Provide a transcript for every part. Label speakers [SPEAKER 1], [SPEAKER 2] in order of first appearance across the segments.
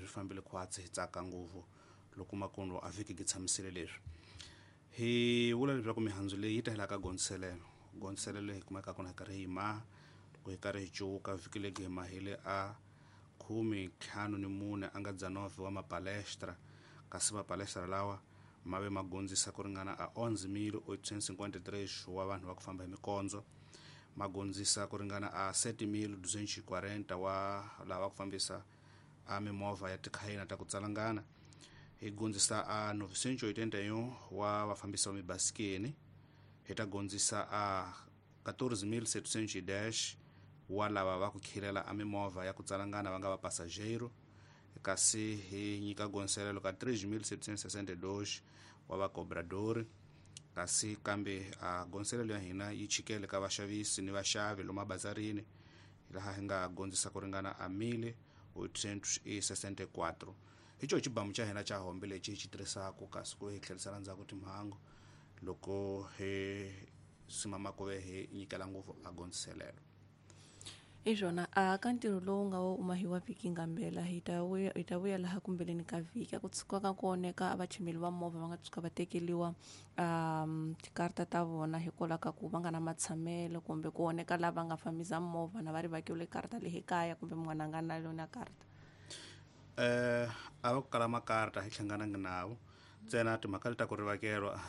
[SPEAKER 1] Swi fambile khwatsi, hi tsaka ngopfu loko makundo a vhiki gi tshamisile leswi. Hi vula leswaku mihandzu leyi yi ta hela ka gondziselelo. Gondziselelo hi kumeka kona hi karhi hi maha loko hi karhi hi cuka vhiki legi hi mahile a 54 a nga 19 wa mapalestra, kasi mapalestra lawa ma ve ma gondzisa ku ringana a 11.853 wa vanhu va ku famba hi mikondzo, ma gondzisa ku ringana a 7.240 wa lava ku fambisa a mimovha ya tikhayina ta ku tsalangana. Hi gondzisa a 981 wa vafambisi va mibasikeni, hi ta gondzisa a 14.710 wa lava va ku khilela a mimovha ya ku tsalangana va nga va passageiro, kasi hi nyika gondziselelo ka 3.762 wa vacobradori. Kasi kambe a gondziselelo ya hina yi chikele ka vaxavisi ni vaxavi lomu mabazarini, laha hi nga gondzisa ku ringana a 1.864. Hi xo xibamu xa hina xa hombe lexi hi xi tirhisaka, kasi ku hi tlherisela ndzhaku timhangu loko hi simama ku ve hi nyikela ngopfu a gondziselelo.
[SPEAKER 2] Hi swona a ka ntirho lowu nga wo mahiwa vhiki ngambela hi ta vuya, hi ta vuya laha kumbeleni ka vhiki. A ku tshuka ka ku oneka a vachimeli va movha va nga tshuka va tekeriwa tikarata ta vona hikwalaho ka ku va nga na matshamelo, kumbe ku oneka lava nga fambisa movha na va ri vakiwile karata leyi kaya, kumbe mun'wana a nga na yona karata.
[SPEAKER 1] A va ku kala makarata hi hlanganangi navo ntsena. Timhaka leti ta ku rivakelwa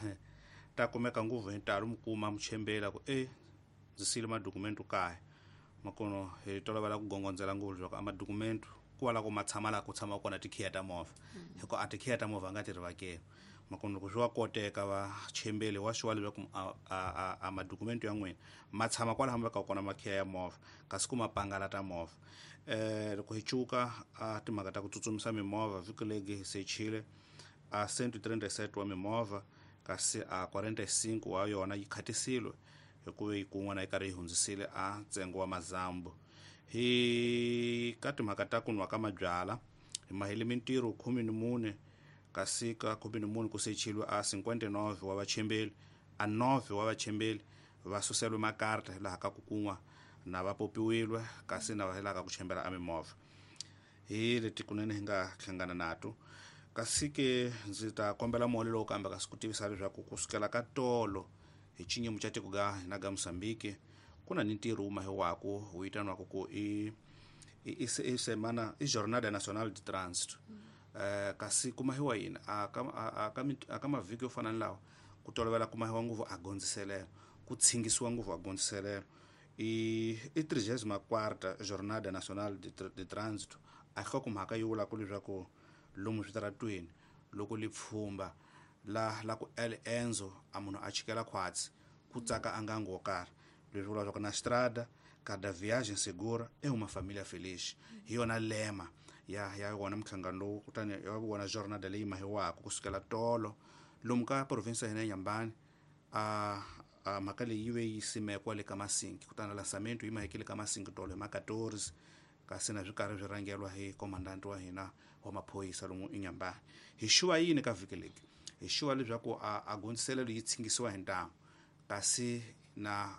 [SPEAKER 1] ta kumeka ngopfu hi ntalo, mi kuma muchembeli ku e ndzi siyile madokumenti kaya. Makono hi tolovela ku gongondzela ngopfu leswaku a madokumenti ku va la ku ma tshama laha ku tshama kona tikhiya ta movha, hikuva a tikhiya ta movha a nga ti rivakeli. Makono loko swi wa koteka vachembeli wa swi wa leswaku a madokumenti ya n'wina ma tshama kwalaho mi vekaka kona makhiya ya movha, kasi ku ma pangala ta movha. Loko hi cuka a timhaka ta ku tsutsumisa mimovha, vhiki legi hi sechile a 137 wa mimovha, kasi a 45 wa yona yi khatisile hikuva yi kun'wana yi karhi yi hundzisile a ntsengo wa mazambu. Hi ka timhaka ta ku nwa ka mabyala, hi mahile mintirho 14, kasi ka 14 ku sechilwe a 59 wa vachembeli, a 9 wa vachembeli va suselwe makarata hi laha ka ku kun'wa na va popiwilwe, kasi na va hi laha ka ku chembela a mimovha. Hi leti kunene hi nga hlangana nato. Kasi ke ndzi ta kombela muholo lowu kambe kasi ku tivisa leswaku kusukela ka tolo hi xinyimo xa tiko ga hina ga Mozambique ku na ni ntirho wu mahiwaku wu vitaniwaka ku i semana i Jornada Nacional de Trânsito. Kasi ku mahiwa yini a ka a ka a ka mavhiki yo fana ni lawa, ku tolovela ku mahiwa ngopfu a gondziselelo, ku tshingisiwa ngopfu a gondziselelo. I 34ª Jornada Nacional de Trânsito a nhlokomhaka yi vulaka leswaku lomu switaratweni loko li pfhumba la ku el enzo a munhu a chikela khwatsi ku tsaka a ngangu wo karhi. Leswi vula leswaku na strada cada viagem segura é uma família feliz. Hi yona lema ya wona mhlangano lowu, kutani ya wona jornada leyi mahiwaka kusukela tolo lomu ka province ya hina ya Nyambani. A mhaka leyi yi ve yi simekwa le ka Masinki, kutani lansamento yi mahekile ka Masinki tolo hi ma 14, kasi na swi karhi swi rhangelwa hi komandanti wa hina wa maphorisa lomu eNyambani. Hi xuva yini ka vhiki leki? Hi xuva leswaku a gondziselelo yi tshingisiwa hi ntamu, kasi na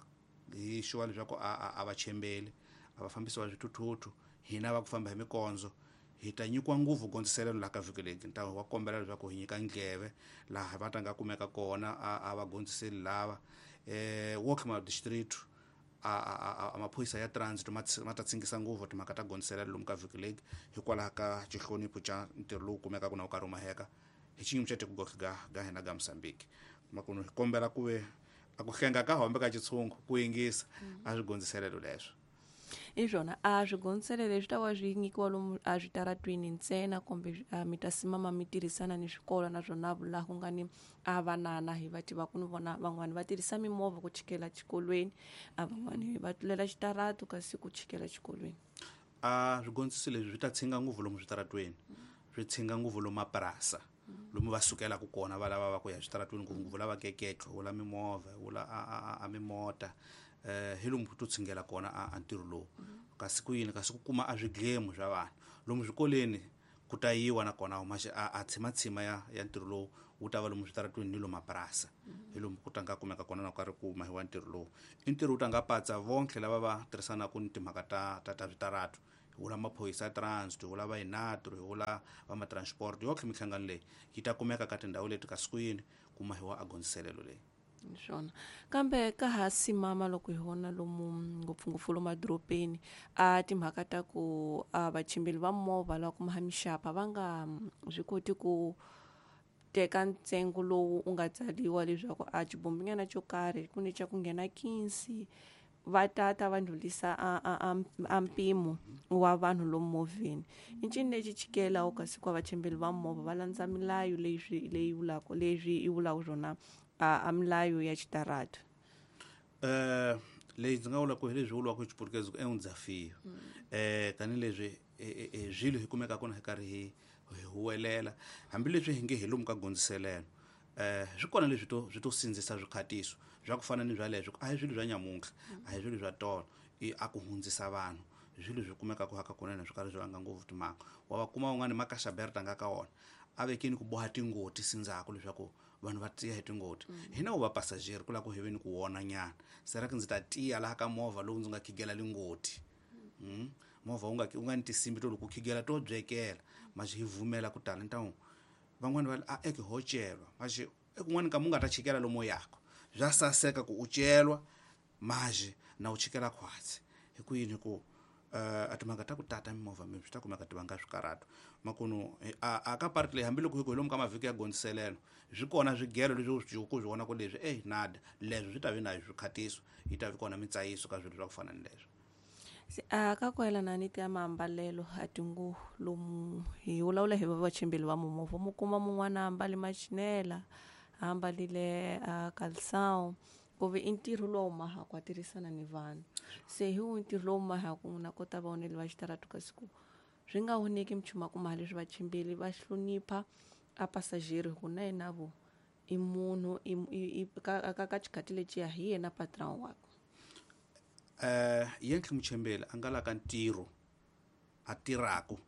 [SPEAKER 1] hi xuva leswaku a vachembeli a va fambisi va swithuthuthu hina va ku famba hi mikondzo hi ta nyikiwa ngopfu gondziselelo laha ka vhiki leki. Ntamu wa kombela leswaku hi nyika ndleve laha va ta nga kumeka kona a va gondziseli lava Walkmar district. A maphorisa ya transit ma ta tshingisa ngopfu timhaka ta gondziselelo lomu ka vhiki leki hikwalaho ka xihlonipho xa ntirho lowu kumekaka na wu karhi wu maheka hi xiyimo xa tiko ga hina ga Mozambique. Makumu hi kombela ku ve a ku hlenga ka hombe ka xitshungu ku yingisa a swi gondziselelo leswo.
[SPEAKER 2] Hi swona a swigondziselelo leswi ta va swi nyikiwa lomu a switaratwini ntsena, kumbe mi ta simama mi tirhisana ni swikolo naswona laha ku nga ni a vanana hi va tiva ku ni vona van'wani va tirhisa mimovha ku chikela xikolweni, a van'wani va tlulela xitarato kasi ku chikela xikolweni.
[SPEAKER 1] A swigondziso leswi swi ta tshinga ngopfu lomu switaratweni, swi tshinga ngopfu lomu mapurasa lomu va sukelaka kona va lava va ku ya switaratweni, ngopfungopfu lava keketlo wula mimovha wula a mimota, hi lomu to tshingela kona a ntirho lowu. Kasi ku yini? Kasi ku kuma a swidlemu swa vanhu lomu swikolweni ku ta yiwa nakona a tshimatshima ya ntirho lowu wu ta va lomu switaratweni ni lomu mapurasa, hi lomu ku ta nga kumeka kona na ku karhi ku mahiwa ntirho lowu. I ntirho wu ta nga patsa vonke lava va tirhisanaka ni timhaka ta switarato, Hi vula maphorisa ya transit, hi vula va inatro, hi vula va matransport, yotlhe minhlangano leyi yi ta kumeka ka tindhawu leti ka sikwini kuma hi wa agondziselelo leyi.
[SPEAKER 2] Swona kambe ka ha simama loko hi vona lomu ngopfungopfu lomu madorobeni a timhaka ta ku a vachimbeli va movha lava kuma mixapa va nga swi koti ku teka ntsengo lowu u nga tsariwa leswaku a xibombinyana xo karhi ku ni xa ku nghena 15 va tata va ndlhulisa a mpimo wa vanhu lomu movheni. I ncini lexi chikela kasi ku vachimbeli va movha va landza milayo leyi leyi vulaka leswi yi vulaka swona a milayo ya xitarata?
[SPEAKER 1] Leyi ndzi nga vula ku hi leswi vuriwaka hi xiputukezi ku é um desafio. Tanihileswi swilo hi kumeka kona hi karhi hi huwelela hambileswi hi nge hi lomu ka gondziselelo, swi kona leswi to swi to sindzisa swikhatiso swa ku fana ni bya leswo, a hi swilo swa nyamuntlha, a hi swilo swa tolo, i a ku hundzisa vanhu hi swilo swi kumekaka haka kunene swi karhi swi vanga ngopfu timhaka. Wa va kuma un'wana makaxaberta nga ka wona a vekini ku boha tingoti sindzhaku leswaku vanhu va tiya hi tingoti. Hina vo va passager ku lava ku hi ve ni ku wona nyana, sera ku ndzi ta tiya laha ka movha lowu ndzi nga khigela lingoti. Movha wu nga ni tinsimbi to loko u khigela to byekela maxi hi vumela ku tala ntawu van'wani va a eke ho celwa maxi ekun'wani ka mu nga ta chikela lomu yako bya saseka ku u celwa maxi na u chikela khwatsi hi ku yini ku a timhaka ta ku tata mimovha mi swi ta kumeka ti vanga swikarhato makunu a ka park leyi hambiloko hi ku hi lomu ka mavhiki ya gondziselelo swi kona swigelo leswi ku swi vona ku leswi ey nada leswi swi ta vi na swikhatiso yi ta vi kona mitsayiso ka swilo swa ku fana ni leswo.
[SPEAKER 2] Se a ka ku yelana ni ta maambalelo a tinguvu lomu hi vulavula hi vachimbeli va mimovha mu kuma mun'wana a ambale machinela a ambalile a calção ku ve i ntirho lowu mahaka a tirhisana ni vanhu, se hi wu ntirho lowu mahaka na kota vaoneli va xitarata kasi ku swi nga voneki minchumu kuma leswi vachimbeli va hlonipha a passager hi ku na yena vo i munhu i ka xikhati lexiya hi yena patron wakwe.
[SPEAKER 1] Yentlhe muchembeli a nga la ka ntirho a tirhaku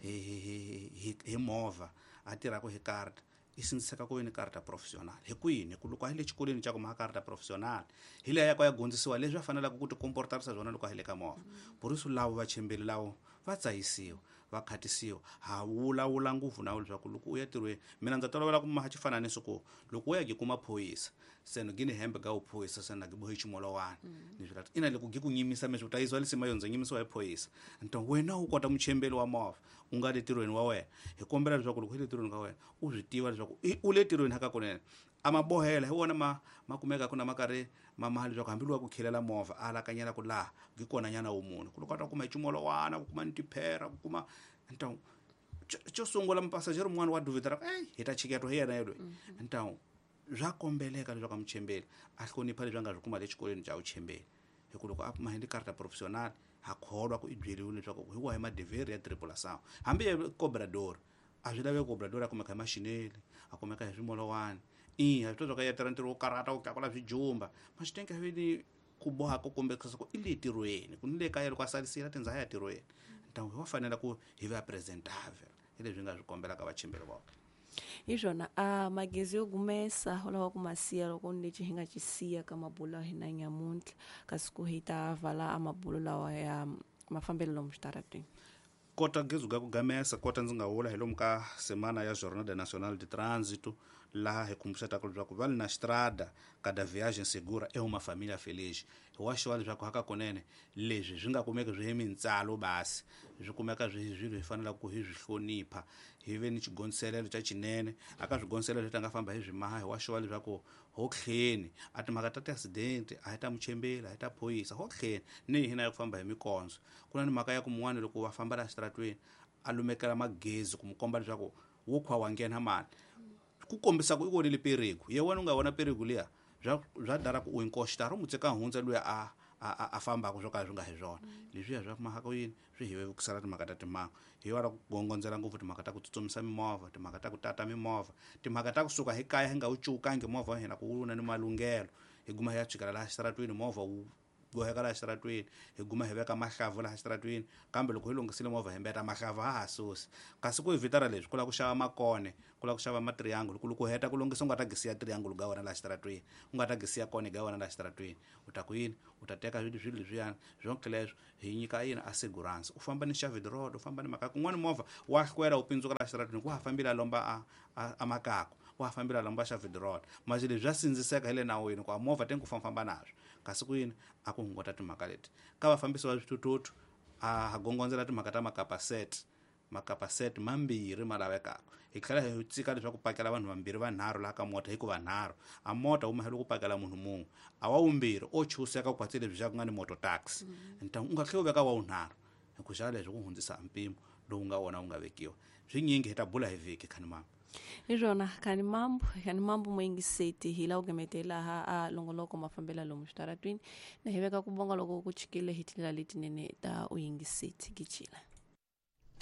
[SPEAKER 1] hi movha a tirhaku hi karta i sindziseka ku ve ni karta professional. Hi kwini ku loko a hi le xikolweni xa ku maha karta professional hi leya ya ku ya gondzisiwa leswi va fanelaka ku ti komportarisa swona loko a hi le ka movha. Boriso lavo vachembeli lavo va tsayisiwa va khatisiwa ha vulavula ngopfu na leswaku loko u ya tirhweni mina ndza tolovela ku maha xifananiso ku loko u ya gi kuma phorisa se no gini hembe ga uphorisa se na gi bohe ximolowani ni swi lati ina loko gi ku nyimisa meswi u ta yisiwa lisima yo ndzi nyimisiwa hi phorisa nto wena u kota muchembeli wa movha u nga le tirhweni wa wena hi kombela leswaku loko hi le tirhweni ka wena u swi tiva leswaku u le tirhweni haka kunene a mabohela hi wona ma kumeka ku na makarhi ma maha leswaku hambi lowa ku khilela movha a alakanyela ku laha gi kona nyana wu munhu ku loko a ta kuma hi ximolwana ku kuma ni tiphera ku kuma ntawu xo sungula mupasajeri mun'wana wa duvitara ey hi ta chiketwa hi yena yelweyi ntawu bya kombeleka leswaku a muchembeli a hlonipha leswi a nga swi kuma le xikolweni xa vuchembeli hi ku loko a kuma hi ni karta professional ha kholwa ku i byeriwile leswaku hi wahi madevheri ya tripulação hambi ye cobrador a swi laveki cobrador a kumeka hi maxineli a kumeka hi swimolowani i ha swi tiva swa ku ya tirha ntirho wo karhata wo tlakula swijumba maxitenke vi ni ku boha ku kombekisa ku i le tirhweni ku ni le kaya loko a salisile tindzaha ya tirhweni ntawu hi wa fanela ku hi va presentable hi leswi nga swi kombelaka vachimbeli voke.
[SPEAKER 2] Hi swona a magezi yo gumesa u lava ku ma siya loko ni lexi hi nga xi siya ka mabulo ya hina nyamuntlha kasi ku hi ta vala a mabulo lawa ya mafambelo lomu xitarateni.
[SPEAKER 1] Kota gezi ga ku gamesa kota ndzi nga vula hi lomu ka semana ya Jornada Nacional de Trânsito laha hi khumbuxetaka leswaku va le na strada cada viagem segura é uma família feliz. Hi wa xiwa leswaku haka kunene leswi swi nga kumeki swi hi mintsalo basi swi kumeka swi swilo hi fanelaka ku hi swi hlonipha hi ve ni xigondziselelo xa xinene aka swigondziselelo leswi nga famba hi swi maha hi wa xiwa leswaku ho tlheni a timhaka ta ti-accident a hi ta muchembeli a hi ta phorisa ho tlheni ni hina ya ku famba hi mikondzo ku na ni mhaka ya ku mun'wana loko va famba laha xitaratweni a lumekela magezi ku mu komba leswaku wo khwa wa nghena mali ku kombisa ku i vonile perigo ye wena u nga vona perigo liya bya dara ku u inkoxitara u mu tseka hundza luya a fambaka swo ka swi nga hi swona leswiya swa mahaka yini swi hi vevukisela timhaka ta timhangu hi wala ku gongondzela ngopfu timhaka ta ku tsutsumisa mimovha timhaka ta ku tata mimovha timhaka ta kusuka hi kaya hi nga wu cukangi movha wa hina ku wu na ni malunghelo hi guma hi ya chikela laha xitaratweni movha wu Boheka laha xitaratweni hi guma hi veka mahlavu laha xitaratweni, kambe loko hi lunghisile movha hi mbeta mahlavu ha ha susi. Kasi ku evitara leswi ku lava ku xava makone, ku lava ku xava matriangle, ku loko u heta ku lunghisa u nga ta gisiya triangle ga wena laha xitaratweni, u nga ta gisiya kone ga wena laha xitaratweni. U ta ku yini? U ta teka swilo leswiyani swonke leswo hi nyika yini assurance. U famba ni xavid road, u famba ni mhaka kun'wana movha wa hlwela wu pindzuka laha xitaratweni, ku ha fambile a lomba a makaku, wa ha fambile a lomba xavid road. Manje leswi swa sindziseka hi le nawini ku a movha tengi ku fambafamba naswo. Kasi ku yini? A ku hunguta timhaka leti. Ka vafambisi va swithuthuthu a ha gongondzela timhaka ta makapa set, makapa set mambirhi ma lavekaka. Hi tlhela hi tsika leswaku pakela vanhu vambirhi vanharhu laha ka mota, hikuva nharhu a mota wu mahelo ku pakela munhu mun'we, a wa wumbirhi o chuseka ku kwatsi leswi xa ku nga ni moto taxi. Ntangu u nga tlhela u veka wa wunharhu hi ku xa leswi ku hundzisa mpimo lowu nga wona wu nga vekiwa. Swinyingi hi ta bula hi vhiki khani mama.
[SPEAKER 2] Hi swona khani mambo, khani mambo moyingiseti hi la ku gemetela ha a longoloko mafambela lomu xitaratwini, na hi veka ku bonga loko ku chikile hi tindlela letinene ta u yingiseti gijila.